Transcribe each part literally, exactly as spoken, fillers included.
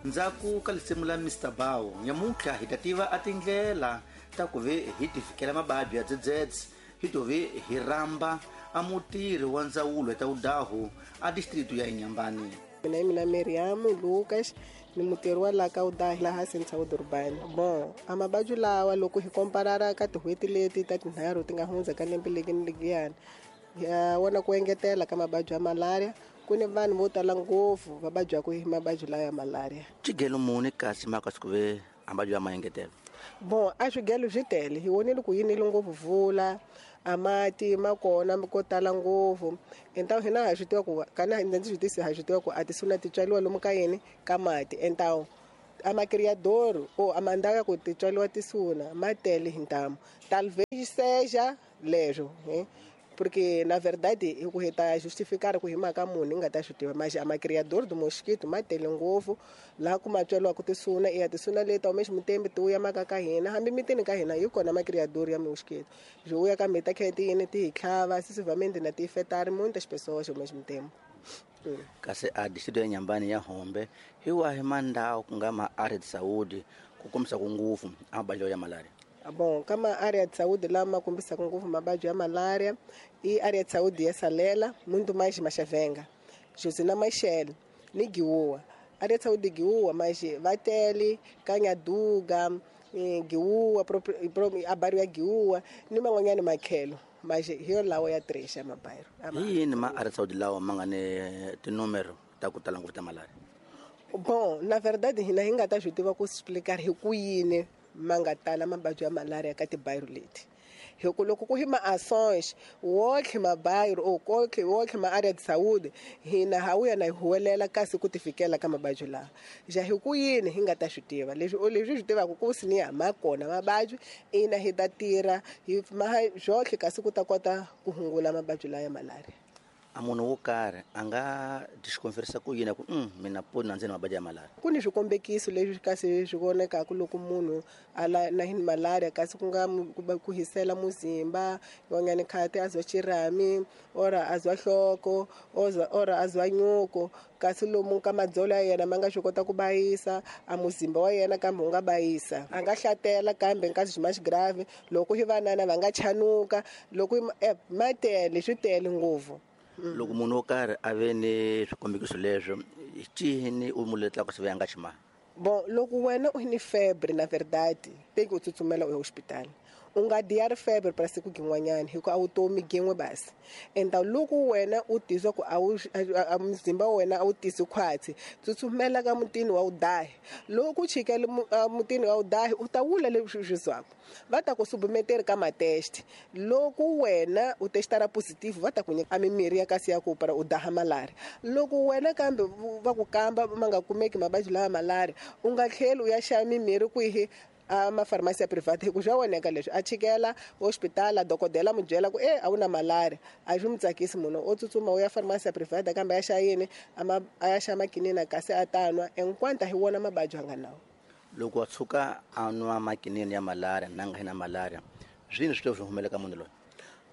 Ndzhaku ka lisimu la Mister Bao nyamuntlha hi ta tiva a tindlela ta ku ve hi tivikela mababyi ya dzedzedze hi to ve hi rhamba a mutirhi wa ndzawulo ta udahu a district ya Inhambane. Mina hi mina Miriam Lucas ni mutirhi wa laha ka Udahi laha Central Durban. Bon, a mababyi lawa loko hi komparara ka tin'hweti leti ta tinharhu ti nga hundza ka lembe leri ni leriyani ya wona ku engetela ka mababyi ya malaria ku ni vanhu vo tala ngopfu va vabyaka hi mababyi lawa ya malaria. Xigelo muni kasi maka siku ve mababyi ya maengetelo? Bon, a swigelo swi tele hi vonile ku yinile ngopfu vula a mati ma kona ko tala ngopfu entawu hina ha swi tiva ku kana ndzi swi tisi ha swi tiva ku a tisuna ti tswaliwa lomu ka yini ka mati entawu a macriador o a mandhawu ya ku ti tswaliwa tisuna ma tele hi ntamu talvez seja leswo eh? Porque na verdade hi ku hi ta justificar ku hi mhaka munhu hi nga ta swi tiva mas a macriador do mosquito ma tele ngopfu laha ku ma tswaliwaka tisuna iya tisuna leti ao mesmo tempo ti vuya maka ka hina hambi mitini ka hina yi kona macriador ya mosquito byi vuya ka mita khe ti yini ti hi tlhava sisivamente na ti afetar muitas pessoas ao mesmo tempo. Kasi a distrito ya Inhambane ya Hombe hi wahi mandhawu ku nga ma área de saúde ku kombisa ku ngopfu a mababyi ya malaria? Bon, kama área de saúde lá ma kombisa ngopfu mababyi ya malaria i área de saúde ya Salela, muito mais Machavenga, Josina Machel, ni Giua. Área de saúde de Giua, mas Vatele, Canhaduga, Giua, a bairro ya Giua, ni man'wanyana makhelo. Mas hi lawa ya três ya mabairro. Hi yini ma área de saúde lawa ma nga ni tinúmero ta ku tala ngopfu ta malaria? Bon, na verdade hina hi nga ta swi tiva ku explicar hi ku yini ma nga tala mababyi ya malaria ka tibairro leti. Hi ku loko ku hi ma-ações wotlhe mabairro or kotlhe wotlhe ma-área de saúde hina ha wuya na hi huwelela kasi ku ti fikela ka mababyi lawa. Ja hi ku yini hi nga ta swi tiva leswi leswi swi tivaka ku siniya ma kona mababyi ina hi ta tirha hi ma byotlhe kasi ku ta kota ku hungula mababyi lawa ya malaria. A munhu wo karhi a nga disconferisa ku yini ku mm, mina poni na ndzeni mababyi ya malaria? Ku ni swikombekiso leswi kasi swi vonekaka loko munhu a la na hi malaria kasi ku nga ku hisela muzimba yin'wanyana khati a zwa xirhami ora a zwa nhloko ora a zwa nyuko kasi lomu ka madzolo ya yena ma nga swi kota ku bayisa a muzimba wa yena kambe wu nga bayisa a nga hlatela kambe kasi swi mais grave loko hi vanana va nga chanuka loko ma tele swi tele ngopfu. Loko munhu wo karhi a ve ni swikombekiso leswo cini u mu letlaka swi ve a nga ximanga? Bon, loko wena u ni febre na verdade teki u tsutsumela u ya hospital u nga diari febre para siku gin'wanyana hi ku a wu tomi gin'we basi. Enta loko wena u tizwa ku a wu a muzimba wa wena a wu tisi khwatsi tsutsumela ka mutini wa udahi loko u chikele mutini wa udahi u ta wula leswi swi zwaka va ta ku submeteri ka matest loko wena u testara positive va ta ku nyika mimirhi ya kasi ya ku para u daha malaria loko wena kambe va ku kamba ma nga kumeki mababyi lawa malaria u nga tlheli u ya xava mimirhi kwihi a ma farmasi ya private hi ku swa voneka leswi a chikela hospital dokodela mu byela ku eh a wu na malaria a swi mu tsakisi munhu o tsutsuma u ya farmasi ya private kambe ya xa yini a ma a ya xa makinina kasi a ta nwa enquanto hi wona mababyi a nga nawo. Loko a tshuka a nwa makinini ya malaria na nga na malaria swini swi to swi humelela ka munhu loyi?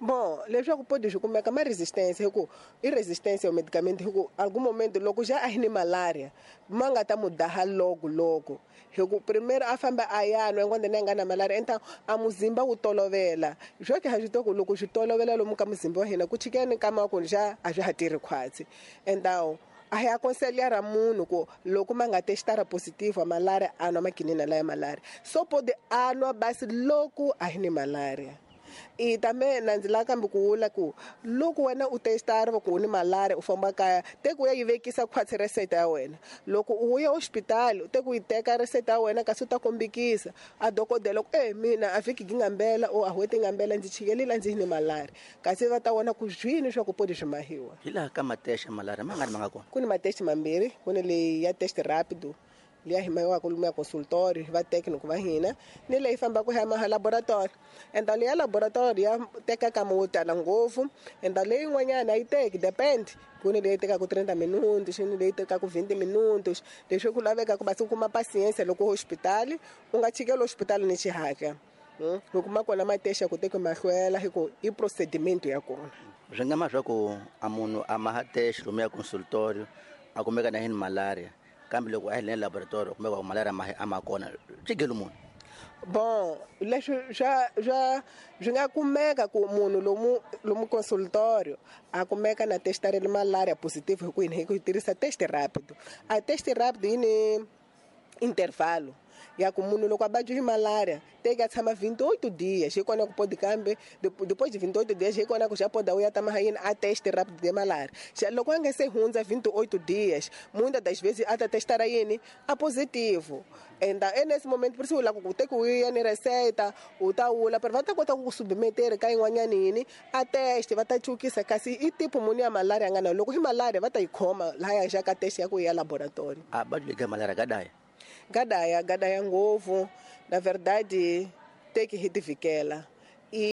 Bon, leswaku podi swi kumeka ma resistance hi ku i resistance ya medicament hi ku algum momento loko ja a hi ni malaria ma nga ta mu daha loko loko hi ku primeiro a famba a ya nwa enquanto ni nga na malaria enta a muzimba wu tolovela swo ke ha swi tiva ku loko swi tolovela lomu ka muzimba wa hina ku chikeni ka ma ku ja a swi ha tirhi khwatsi entawu a hi aconselhar munhu ku loko ma nga testara positive malaria a nwa makinina laya malaria so pode a nwa basi loko a hi ni malaria. I também na ndzi lava kambe ku vula ku loko wena u testara ku u ni malaria u famba kaya te ku ya yi vekisa khwatsi reseta ya wena loko u ya hospital te ku yi teka reseta ya wena kasi u ta kombekisa a dokodela ku eh mina a vhiki ngambela o a hweti ngambela ndzi chikelile ndzi ni malaria kasi va ta vona ku zwini swa ku podi swi mahiwa. Hi laha ka matest ya malaria ma nga ri ma nga kona? Ku ni matest mambirhi ku ni leyi ya test rapido liya hi mayiwaka lomu ya consultory va técnico va hina ni leyi fambaka hi ya laboratory enta leyi ya laboratory ya teka kama wo tala ngopfu enta leyi yin'wanyana a yi teki depend ku ni leyi tekaka trinta minutos ni leyi tekaka vinte minutos leswi ku lavekaka basi ku kuma paciência loko hospital u nga chikeli hospital ni xihatla hi kuma kona matest ya ku teki mahlwela hi ku i procedimento ya kona. Swi nga ma swa ku a munhu a ma ha test lomu ya consultory a kumeka na hi ni malaria Kambe loko a hi le laboratory kumbe va malaria ma a ma kona xigelo munhu. Bon, leswi swa swa swi nga kumeka ku munhu lomu lomu consultorio a kumeka na testarele malaria positive hi ku yini hi ku tirhisa test rapid. A test rapid yi ni intervalo ya ku munhu loko a vabya hi malaria teka a tshama vinte e oito dias hi kona ku podi kambe depois de vinte e oito dias hi kona ku xa poda u ya tama ha yini a test rapid de malaria. Xa loko a nga se hundza vinte e oito dias muitas das vezes a ta testara yini a positivo. Enda nesse momento por isso la ku te ku ya ni receita u ta wula pero va ta kota ku ku submeter ka yin'wanyana yini a test va ta chukisa kasi i tipo muni ya malaria nga na loko hi malaria va ta yi khoma laha ya xa ka test ya ku ya laboratory. A ba ka malaria ka daya gadaya gadaya ngopfu na verdade teki hi tivikela. I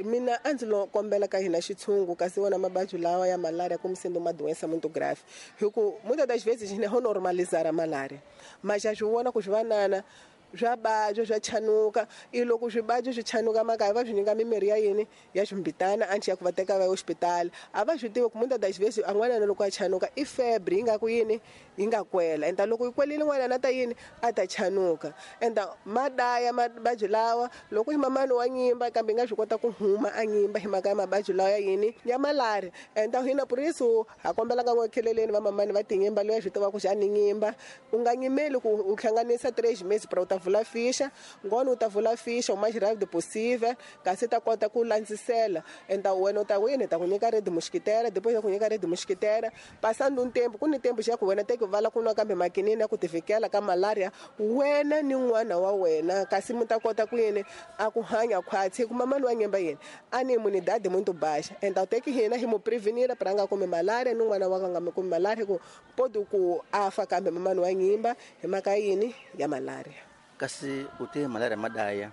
mina a ndzi lo kombela ka hina xitshungu kasi wona mavabyi lawa ya malaria como sendo uma doença muito grave hi ku muitas das vezes hina ho normalizar a malaria mas já swi vona ku swi vanana swa vabya swa chanuka i loko swivabyi swi chanuka makaya va swi nyika mimirhi ya yini ya swimbitana anchi ya ku va teka va ya hospitali a va swi tivi ku muitas das vezes a n'wanana loko a chanuka i febre yi nga ku yini yi nga kwela enta loko yi kwelile n'wanana ta yini a ta chanuka enta madaya mavabyi lawa loko hi mamani wa nyimba kambe yi nga swi kota ku huma a nyimba hi mhaka ya mavabyi lawa ya yini ya malaria. Enta hina por isso ha kombela ka n'wekheleleni va mamani va tinyimba loyi a swi tiva ku xa ni nyimba u nga nyimeli ku u hlanganisa três meses para u ta vula ficha ngona u ta vula ficha o mais rápido possível kasi ta kota ku landzisela enta wena u ta wini ta ku nyika red mosquitera depois ya ku nyika red mosquitera passando um tempo ku ni tempo xa ku wena teki vala ku nwa kambe makinini ya ku tivikela ka malaria wena ni n'wana wa wena kasi mi ta kota ku yini a ku hanya khwatsi ku mamani wa nyimba yini a ni imunidade muito baixa enta teki hina hi mu prevenir para nga kumi malaria ni n'wana wa ka nga kumi malaria ku pode ku afa kambe mamani wa nyimba hi mhaka yini ya malaria. Kasi u te malaria madaya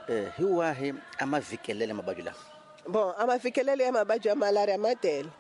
eh hi wahi a mavikelele mavabyi lawa? Bon, a mavikelele ya mavabyi ya malaria ma tele.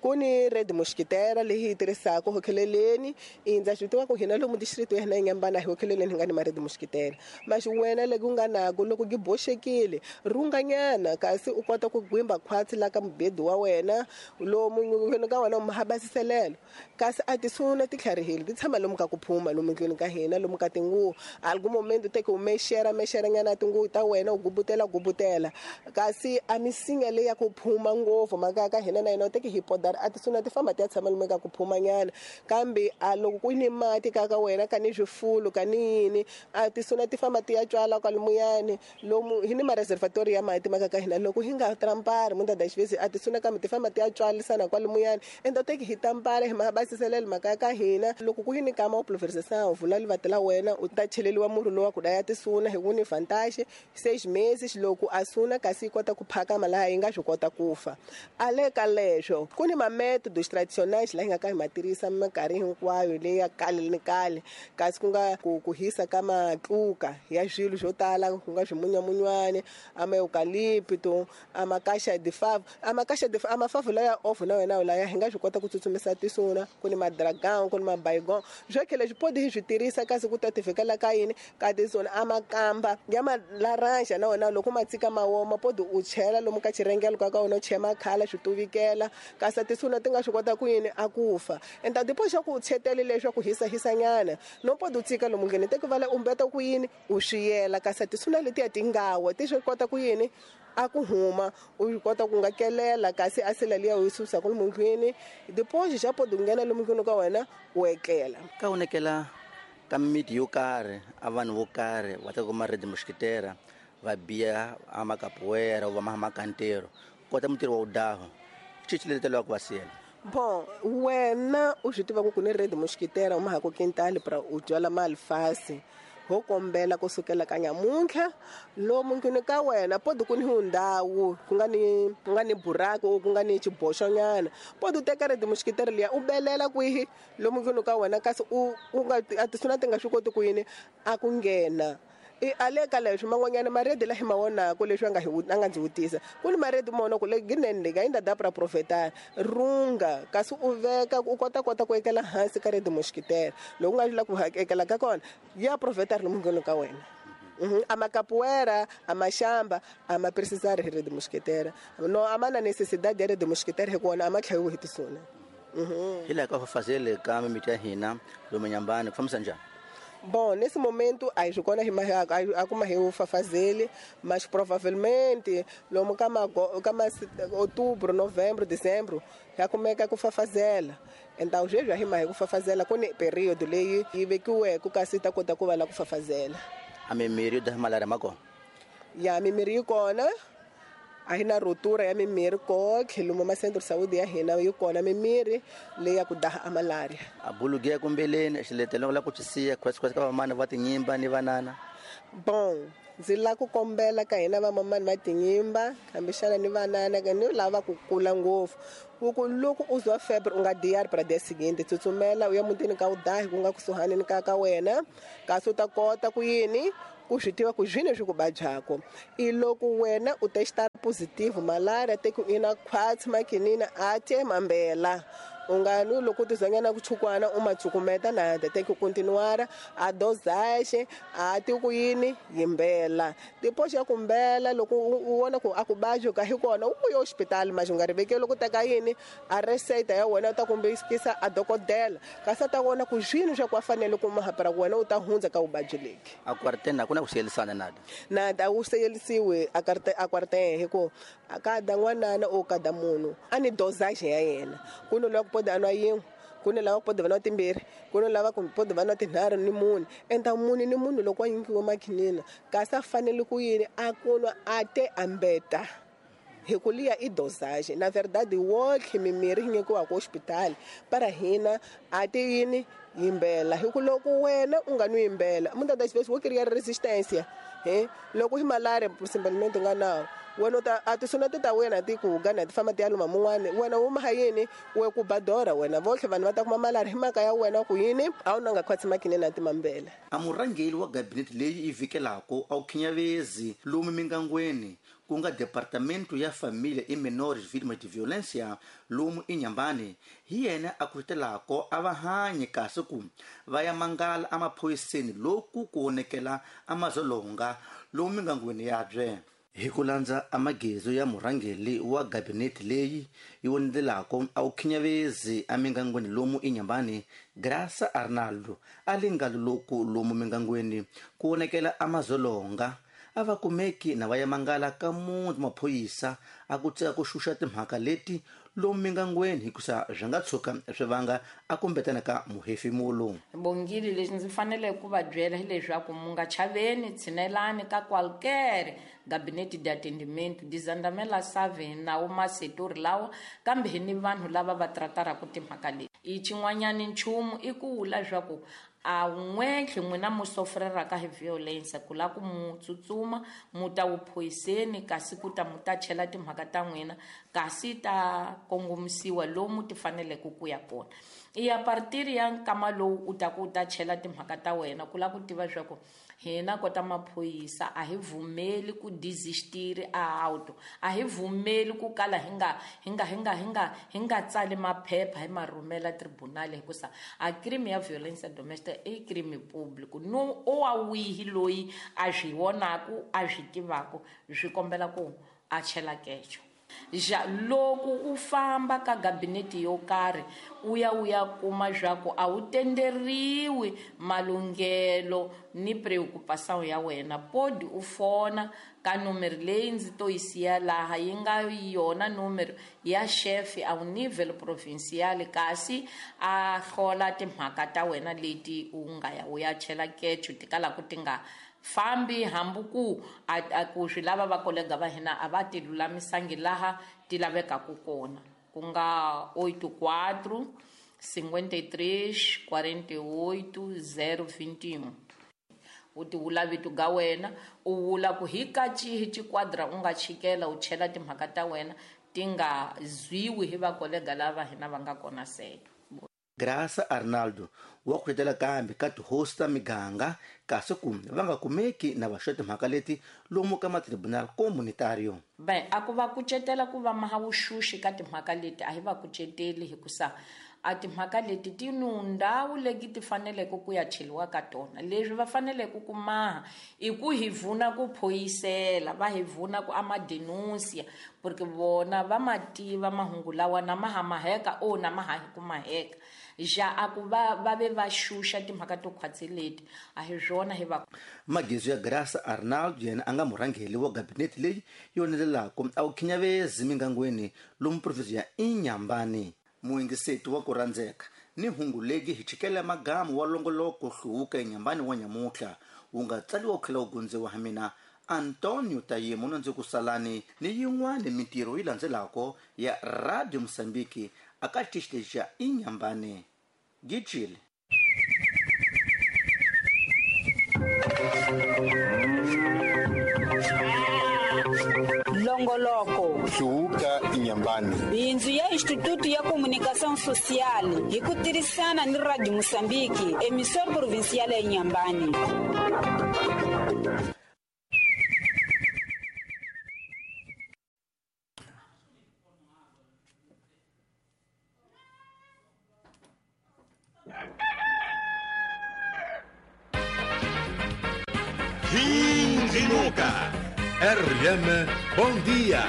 Ku ni red mosquitera leyi hi tirhisaka hokheleleni indza swi tiva ku hina lomu district ya hina Inhambane hi hokheleleni hi nga ni ma red mosquitera mas wena loko u nga nako loko gi boxekile runganyana kasi u kota ku gwimba khwatsi la ka mubedi wa wena lomu wena ka wena u habasiselelo kasi a tisuna ti tlharihile ti tshama lomu ka ku phuma lomu ndlwini ka hina lomu ka tinguvu algum momento teke u mexera mexera nyana tinguvu ta wena u gubutela gubutela kasi a misinya leyi ya ku phuma ngopfu mhaka ka hina na yena u teke hi podar a tisuna ti famba ti ya tshama lomu ka ku phumanyana kambe a loko ku ni mati ka ka wena ka ni swifulu ka ni yini a tisuna ti famba ti ya tswala kwalomuyani lomu hi ni ma-reservatory ya mati maka ka hina loko hi nga trampari muitas das vezes a tisuna kambe ti famba ti ya tswalisana kwalomuyani enta teki hi tampara hi mabasiselelo mhaka ka hina loko ku yini kama u pulverisation u vula livati la wena u ta cheleliwa murhi lowa ku daya tisuna hi ku ni vantage seis meses loko a suna kasi yi kota ku phakama laha yi nga swi kota ku fa a le ka leswo ku ni ma-métodos tradicionais laha hi nga ka hi ma tirhisa minkarhi hinkwayo leyi ya kale ni kale kasi ku nga ku ku hisa ka matluka ya swilo swo tala ku nga swimunyamunywani a ma-eucalipto a ma-caixa de favo a ma-caixa de a mafavo laya off na wena laya hi nga swi kota ku tsutsumisa tisuna ku ni ma-dragon ku ni ma-baygon swo khele swi podi hi swi tirhisa kasi ku ta tivikela ka yini ka tisuna a makamba ya ma-laranja na wena loko ma tsika ma woma podi u chela lomu ka xirhengelo ka ka wena u chela makhala swi tuvikela kasi tisuna ti nga swi kota ku yini a ku fa enta depois xa ku chetele leswaku hisa hisanyana no podi u tsika lomu ndlwini teki vala u mbeta ku yini u swiyela kasi tisuna letiya ti nga wa ti swi kota ku yini a ku huma u kota ku nga kelela kasi a sela liya u yi susa ku lomu ndlwini depois xa podi u nghena lomu ndlwini ka wena u etlela. Ka vonekela ka miti yo karhi a vanhu vo karhi va ta kuma red mosquitera va biya a makapoeira va ma makantero kota mutirhi wa udaho xi letelaka ku va siyela. Bon, wena u swi tiva ku ku ni red mosquitera u ma ha ku quintal para u byala maalfasi ho kombela ku sukela ka nyamuntlha lomu ndlwini ka wena podi ku ni ndhawu ku nga ni ku nga ni buraku ku nga ni xiboxonyana podi u teka red mosquitera liya u belela kwihi lomu ndlwini ka wena kasi u u nga a tisuna ti nga swi koti ku yini a ku nghena i ale ka leswi man'wanyana maredi la hi ma vonaka leswi a nga hi a nga ndzi vutisa ku ni maredi ma vonaka le ginene leyi ainda dá para aproveitar runga kasi u veka u kota kota ku ekela hansi ka redi mosquitera loko u nga la ku ekela ka kona ya aproveitar lomu ndlwini ka wena. A macapoeira, a machamba, a ma precisar hi rede mosquitera. No, a mana necessidade de rede mosquitera hi kona a ma tlhayiwi hi tisuna. Hi laha ka fafazele ka mimiti ya hina lomu Nyambani ku fambisa njhani? Bom, nesse momento, a gente a hi fafazele, mas provavelmente, lomu kama kama outubro, novembro, dezembro, já começa com fafazela. Então, já já rima com fafazela, com período leio e vê que o eco caceta conta com ela com fafazela. A mimiri da malária mago? Ya mimiri kona. A hina rotura ya mimiri ko khiluma ma centro de saúde ya hina yi kona mimiri leyi ya ku daha a malaria. A bulugia kumbeleni xiletelo la ku tshisiya kwesi kwesi ka vamana va tinyimba ni vanana. Bom, ndzi la ku kombela ka hina vamamani va tinyimba kambexana ni vanana ka ni lava ku kula ngopfu ku loko u zwa febre u nga diari para dia seguinte tsutsumela u ya mutini ka u dahi ku nga kusuhani ni ka ka wena kasi u ta kota ku yini ku swi tiva ku zwine swi ku vabyako i loko wena u testa positive malaria te ku ina khwatsi makinina a te mambela u nga nu loko ti zanyana ku chukwana u matsukumeta na te ku continuar a dosage a ti ku yini yimbela depois ya kumbela loko u vona ku a ku bajo ka hi kona u ya hospital mas u nga rivekeli loko teka yini a receita ya wena u ta kumbekisa a dokodela kasi ta vona ku zwini swa ku fanele ku mahapara wena u ta hundza ka vuvabyi leki a quarantena a ku na ku siyelisana nada nada u siyelisiwe a carte a quarantena hi ku a kada n'wanana o kada munhu a ni dosage ya yena ku no loko pode anwa yin'we ku ni lava ku pode va nwa timbirhi ku ni lava ku pode va nwa tinharhu ni mune enta mune ni munhu loko a nyikiwe makhinina kasi a fanele ku yini a ku nwa a te ambeta hi ku liya i dosage na verdade wonke mimiri yi nyikiwaka hospital para hina a ti yini yimbela hi ku loko wena u nga nwi yimbela muitas das vezes wo criar resistência he loko hi malaria simplesmente nga nawo wena ta a ti sona ta wena ti ku gana ti famba ti ya luma mun'wana wena u maha yini we ku badora wena votlhe vanhu va ta kuma malaria hi mhaka ya wena ku yini a wu na nga khwatsi makine na timambela. A murhangeri wa gabinete leyi yi vhikelaka a wu khinyavezi lomu mingangweni ku nga departamento ya família e menores vítimas de violência lomu eNyambani hi yena a kucetelaka a va hanyi kasi ku va ya mangala emaphoyiseni loku ku onekela amazolonga lomu mingangweni yabye. Hi ku landza amagezo ya murhangeri wa gabinete leyi yi vonelaka a wu khinyavezi emingangweni lomu eNyambani Graça Arnaldo a lingalo loku lomu mingangweni ku onekela amazolonga a va kumeki na va ya mangala ka munhu maphoyisa a ku tseka ku xuxa timhaka leti lomu mingangweni hikusa swi nga tshuka swi vanga a kumbetana ka muhefemulo. Bongile lexi ndzi fanele ku va byela hileswaku mu nga chaveni tshinelani ka qualquer gabinete de atendimento dizandamela save nawo masetori lawa kambe hi ni vanhu lava va trataraka timhaka leti i xin'wanyani nchumu i ku vula leswaku a n'wetlhe n'wina mu sofreraka hi violence ku la ku mu tsutsuma mu ta wuphoyiseni kasi ku ta mu ta chela timhaka ta n'wina kasi ta kongomisiwa lomu ti faneleke ku ya kona i ya partir ya nkama lowu u ta ku u ta chela timhaka ta wena ku la ku tiva leswaku hina kota maphoyisa a hi vumeli ku desistiri a auto a hi vumeli ku kala hi nga hi nga hi nga hi nga hi nga tsali maphepha hi ma rhumela tribunal hikusa a crime ya violence domestic i crime público no o wa wihi loyi a swi vonaku a swi tivaku swi kombela ku a chela kecho. Ja loko u famba ka gabinete yo karhi u ya u ya kuma swa ku a wu tenderiwi malunghelo ni preocupação ya wena podi u fona ka numero leyi ndzi to yi siya laha yi nga yona numero ya chefe a wu nível provincial kasi a hlola timhaka ta wena leti u nga ya u ya chela kecho ti kalaku ti nga fambi hambi ku a ku swi lava va kolega va hina a va ti lulamisangi laha ti lavekaku kona ku nga oito quatro cinquenta e três quarenta e oito zero vinte e um u ti vula vito ga wena u vula ku hi ka cihi xiquadra u nga chikela u chela timhaka ta wena ti nga zwiwi hi vakolega lava hina va nga kona seto. Graça Arnaldo wa kucetela kambe ka tihosi ta miganga kasi ku va nga kumeki na va xo timhaka leti lomu ka matribunal comunitario. Ben a ku va kucetela ku va maha vuxuxi ka timhaka leti a hi va kuceteli hikusa A timhaka leti ti ni ndhawu leti ti faneleke ku ya cheliwa ka tona. Leswi va faneleke ku maha i ku hi vuna ku phoyisela, va hi vuna ku ama denuncia, porque vona va ma tiva mahungu lawa na ma ha maheka o na ma ha ku maheka. Ja a ku va va ve va xuxa timhaka to khwatsi leti a hi swona hi va Magizo ya Graça Arnaldo yena a nga murhangeri wa gabinete leyi yonelelaka a wu khinyavezi mingangweni lomu provinsi ya Inhambane. Muyingiseti wa ku rhandzeka ni hungu legi hi chikela magamu wa longoloko hluvuka eNyambani wa nyamuhla wu nga tsaliwa ku tlhela wu gundziwa ha mina Antonio Tayemo na ndzi ku salani ni yin'wani mintirho yi landzelako ya Radio Mozambique aka xitichi lexi xa Inhambane. Gijile. Longoloko hluvuka Inhambane, bindzu ya Instituto ya Comunicação Social hi ku tirhisana ni Radio Mozambique, emissora provincial ya Inhambane. Vindinuka R M, bom dia.